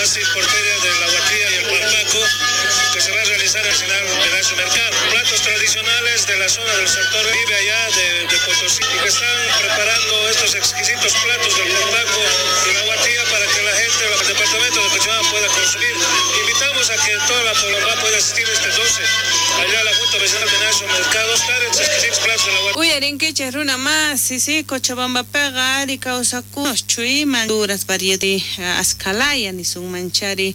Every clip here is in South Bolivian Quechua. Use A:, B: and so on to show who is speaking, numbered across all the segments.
A: Masi por Feria de la Huatría y el Parpaco, que se va a realizar al final de su mercado. Platos tradicionales de la zona del sector vive allá de Potosí y que están preparando estos exquisitos platos del Parpaco y la Huatría para que la gente del departamento de Cochabamba pueda consumir. Invitamos a que toda la población pueda asistir este 12 allá a la Junta Vecinal de Naso Mercado, estar exquisitos platos de la Huatría.
B: Uyarinkichej runa masi, sí, Cochabambapiqa ari kawsakunos chuyman duras variedad askalaya nisunmanchari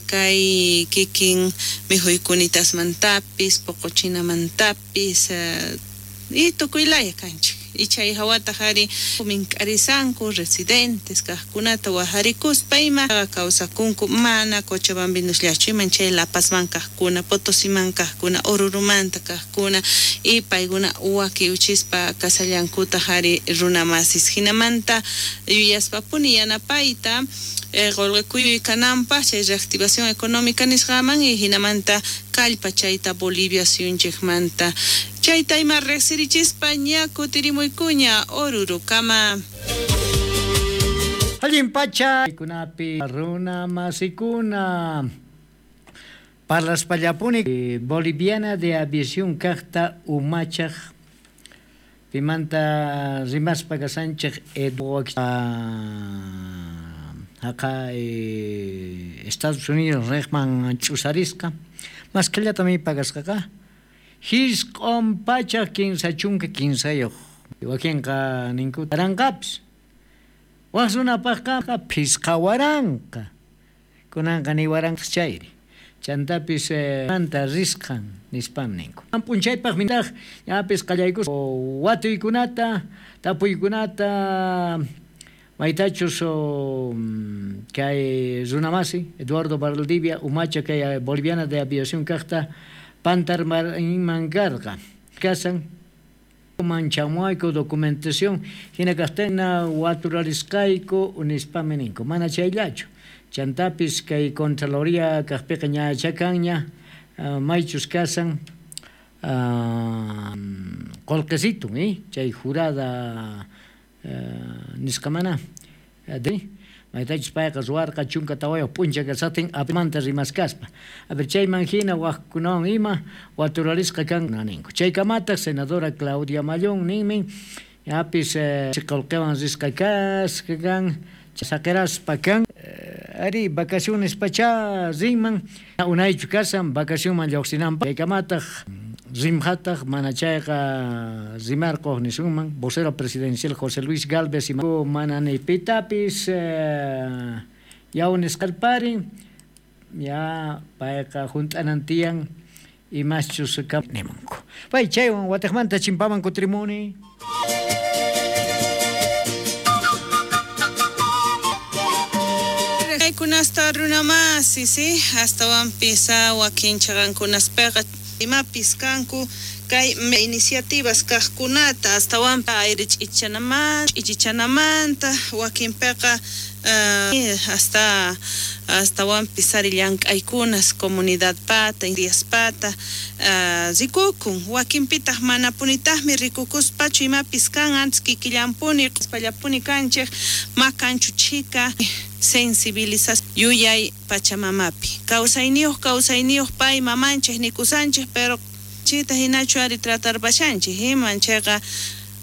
B: kay kikin mikhuykunitashmantapis poqochinamantapis y tukuylaya kanchik. Y chay hawataq ari mink'arisanku residentes kaqkunata wajarikuspa ima kawsakunku mana Cochabambinosllachu iman chay La Pazman kaqkuna, Potosiman kaqkuna, Orurumanta kaqkuna y paykuna wakiuchispa kasallankutaq ari runa masis. Hinamanta yuyaspapuni yanapayta qolqekuyuy kananpaq chay reactivación económica nisqaman y hinamanta kallpa chayta Bolivia suyunchikmanta. Chayta ima riqsirichispa ña kutirimuykuña Orurukama.
C: Allin pacha kunapi runa masikuna parlaspallapuni Boliviana de Aviación kaqta umachaq pimanta rimaspa kasanchik haqa Estados Unidos riqman ch'usarisqa maskhallatami pagasqaqa hisq'un pachaq 33 wakinqa ninku taranqapis waq runapaqqa phisqa waranqa kunanqa ni waranqas chayri chantapis manta risqan nispam ninku p'unchaypaq mintaq ñapis qallaykus watuykunata tapuykunata maytachus kay runamasi Eduardo Valdivia umacha kay Boliviana de Aviación kaqta pantarman karqa kasan manchamuayku documentación hina kaqtina waturalisqayku nispami ninku mana chayllachu chantapis kay Contraloría kaqpiqa ñachakanña maychus kasan qolqesitun chay jurada nisqamana maytachus payqa ruwarqa 14 p'uncha kasatin apimanta rimaskaspa a ver chayman hina waqkunawan ima waturalisqa kan ninku chaykamataq senadora Claudia Mallón ninmin ñapis qolqewan risqa kasqa kan saqiraspa kan ari vacaciones pacha rinman unaychu kasan vacacionman lluqsinanpaq chaykamataq rimhataq mana chayqa rimarqoj nisunman vocero presidencial José Luis Gálvez y mana ni pitapis yawnisqarparin ya payqa hunt'anantiyan imaschus nimunku pay chaywan watiqmanta chimpaman kutrimuni.
B: Kunasta runa masi, sí, astawanpis wakin chaqankunaspiqa imapis kanku kay iniciativas kaqkunata astawanpa aire ch'ichanamanta wakinpiqa hasta astawanpis ari llank'aykunas comunidadpata indiaspata rikukun wakinpitaq manapunitaqmi rikukuspachu imapis kan antes kikillanpuni q'uspallapuni kanchik makanchu chhika sensibilización yuyay pachamamapi kawsayniyuq pay mamanchik nikusanchik pero chita hinachu ari tratarpashanchik iman chayqa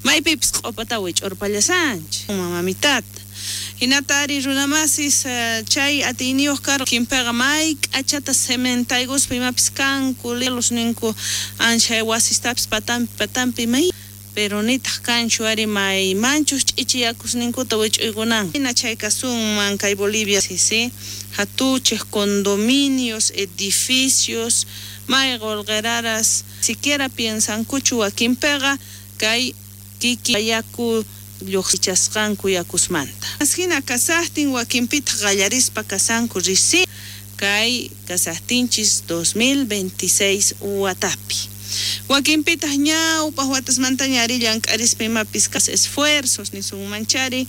B: maypipis q'upata wich'urpallasanchik mamamitata hinata ari runamasis chay atiyniyuq kar kinpiqa may k'achata cementaykuspa imapis kanku los ninku anchay wasistapis patampi patampi may pero nitaq kanchu ari may manchus ch'ichiyakusninkuta wich'uykunan hina chay kasunman kay Bolivia sí hatuchej condominios edificios may qolqeraras siquiera piensankuchu wakinpiqa kay kiki yaku lluqsichasqanku yakusmanta hina kasaqtin wakinpitaq qallarispa kasanku risi kay kasaqtinchis 2026 watapi wakinpitaq ñawpaq watasmantaña ari llank'arispa imapis esfuerzos nisunmanchari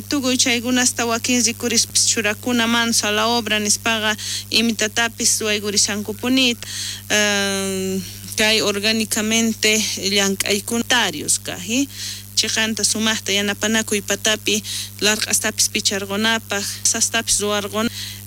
B: tukuy chaykunasta wakin rikurispis churakuna manos a la obra nispaqa imitatapis ruwaykurisankupunita kay orgánicamente llank'aykuntarios kaj chiqanta sumaqta yanapanakuy patapi larq'astapis picharqunapaq sastapis ruwarqunapaq.